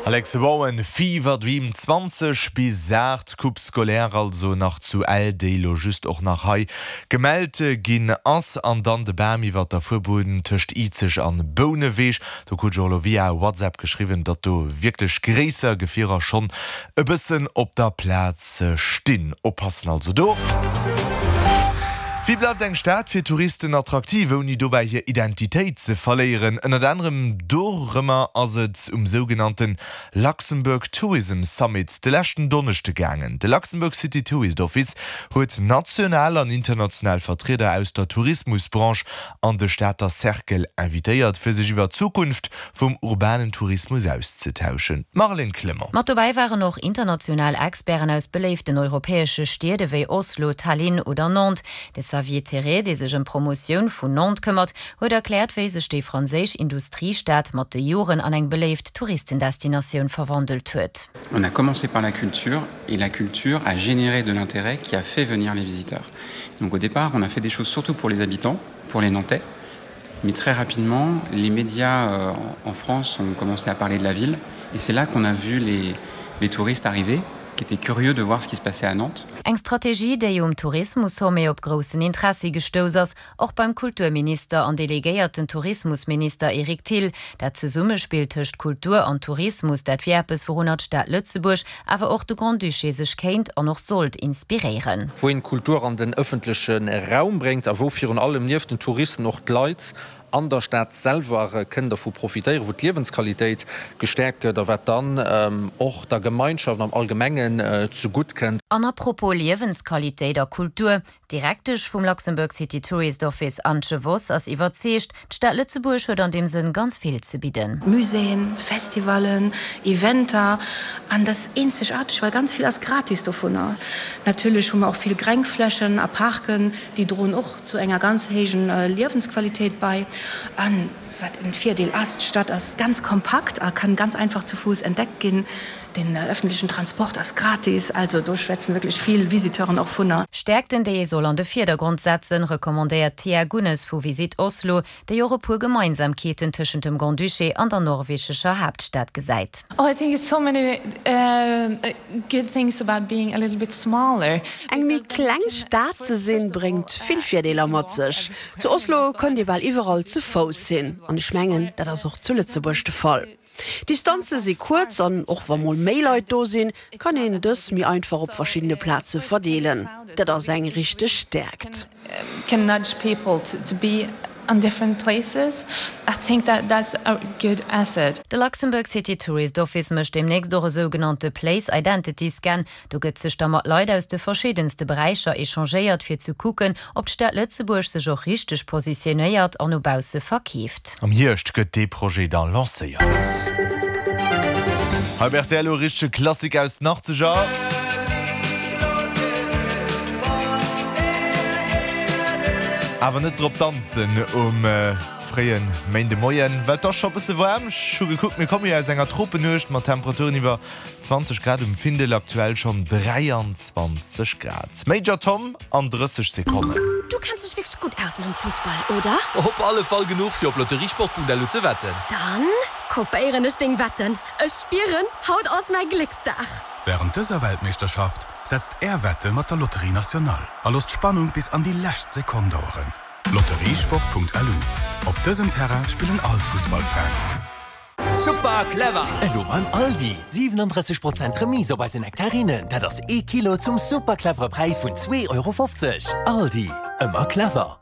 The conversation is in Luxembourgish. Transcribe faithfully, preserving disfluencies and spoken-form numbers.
Alex Warren, Fever Dream zwanzeg bis aacht, Coupe scolaire also nach zu Ell, déi lo just och nach hei gemellt ginn ass. An dann de Bam iwwer der Fuerbunn tëscht Izeg an Bouneweg. Do krut ech och lo via WhatsApp geschriwwen, datt do wierklech gréisser Gefierer schonn e bëssen op der Plaz stinn. Oppassen also do. Wéi bleift eng Stad fir Touristen attraktiv, ouni dobäi hir Identitéit ze verléieren? Ënnert anerem dorëmmer ass et um sougenannte Luxembourg Tourism Summit de leschten Donneschde gaangen. De Luxembourg City Tourist Office huet national an international Vertrieder aus der Tourismusbranche an de Stater Cercle invitéiert, fir sech iwwer d'Zukunft vum urbanen Tourismus auszetauschen. Marlène Clement. Mat dobäi waren och international Experten aus beléiften europäesche Stied ewéi Oslo, Tallinn oder Nantes. De Xavier Terré, dee sech ëm d'Promotioun vun Nantes këmmert, huet erkläert, wéi sech déi franséisch Industriestad mat de Joren an eng beléift Touristendestinatioun verwandelt huet. On a commencé par la culture et la culture a généré de l'intérêt qui a fait venir les visiteurs. Donc au départ, on a fait des choses surtout pour les habitants, pour les Nantais. Mais très rapidement, les médias euh, en France ont commencé à parler de la ville et c'est là qu'on a vu les, les touristes arriver qui étaient curieux de voir ce qui se passait à Nantes. Eng Strategie, déi um Tourismus-Sommet op groussen Interessi gestouss ass, och beim Kulturminister an delegéierten Tourismusminister Eric Thill. Dat Zesummespill tëscht Kultur an Tourismus, dat wier eppes, wourunner d'Stad Lëtzebuerg, awer och de Grand-Duché sech kéint an och sollt inspiréieren. Wou een Kultur an den ëffentleche Raum bréngt a wou virun allem nieft den Touristen och d'Leit an der Stad selwer kënnen dervu profitéieren, wou d'Liewensqualitéit gestäerkt gëtt a wat dann och der Gemeinschaft am Allgemengen zegutt kënnt. An à propos Liewensqualitéit a Kultur, D'Direktesch vum Luxembourg City Tourist Office Antje Vos ass iwwerzeegt, d'Stad Lëtzebuerg huet an deem Sënn ganz vill ze bidden. Muséeën, Festivallen, Eventer an dat ass eenzegaarteg, well ganz vill ass gratis dovunner. Natierlech hu mer och vill Grengflächen a Parken, déi droen och zu enger ganz héijen Liewensqualitéit bei. An wat en Virdeel ass, d'Stad ass ganz kompakt a kann ganz einfach zu Fuuss entdeckt ginn. Den öffentlichen Transport ass gratis, also do schwätzen wierklech vill Visiteuren och vunner. Stäerkten, déi ee soll an de Virdergrond setzen, recommandéiert d'Thea Gunnes vu Visit Oslo, déi och e puer Gemeinsamkeeten tëschent dem Grand-Duché an der norwegescher Haaptstad gesäit. Oh, I think it's so many good things about being a little bit smaller. Eng méi kleng Stad ze sinn, bréngt vill Virdeeler mat sech. Zu Oslo kënnt Dir bal iwwerall zu Fouss hin, an ech mengen, dat ass och zu Lëtzebuerg de Fall. D'Distanze si kuerz an och wa mol méi Leit do sinn, kann een dës méi einfach op verschiddene Plaze verdeelen. Dat ass eng richteg Stäerkt. Can nudge people to to be on different places. I think that that's a good asset. De Luxembourg City Tourist Office mécht deemnächst och e sougenannte Place Identity Scan. Do gëtt sech da mat Leit aus de verschiddenste Beräicher echangéiert, fir ze kucken, ob d'Stad Lëtzebuerg sech och richteg positionéiert an no bausse verkeeft. Am Hierscht gëtt dee Projet da lancéiert. Hei op rtl e richtege Klassik aus den Achtzeger. Awer net drop danzen um fréie Méindemoien, well et ass scho bësse waarm. Ech hu gekuckt, mir komme jo aus enger Tropenuecht mat Temperaturen iwwer zwanzeg Grad um Findel, aktuell schonn dräianzwanzeg Grad. Major Tom an drësseg Sekonnen. Du kenns dech wierklech gutt aus mam Fussball, oder? Op alle Fall genuch fir op lotteriesport Punkt L U ze wetten. Dann kopéieren ech deng Wetten. Ech spieren, haut ass mäi Glécksdag! Wärend dëser Weltmeeschterschaft setzt Är Wette mat der Loterie Nationale a loosst d'Spannung bis an déi lescht Sekonn daueren. Lotteriesport Punkt L U, Op dësem Terrain spillen all d'Fussballfans. Super clever! Elo beim Aldi, siwenandrësseg Prozent Remise op eise Nektarinen, dat ass ee Kilo zum super clevere Präis vun zwee Euro fofzeg. Aldi, ëmmer clever!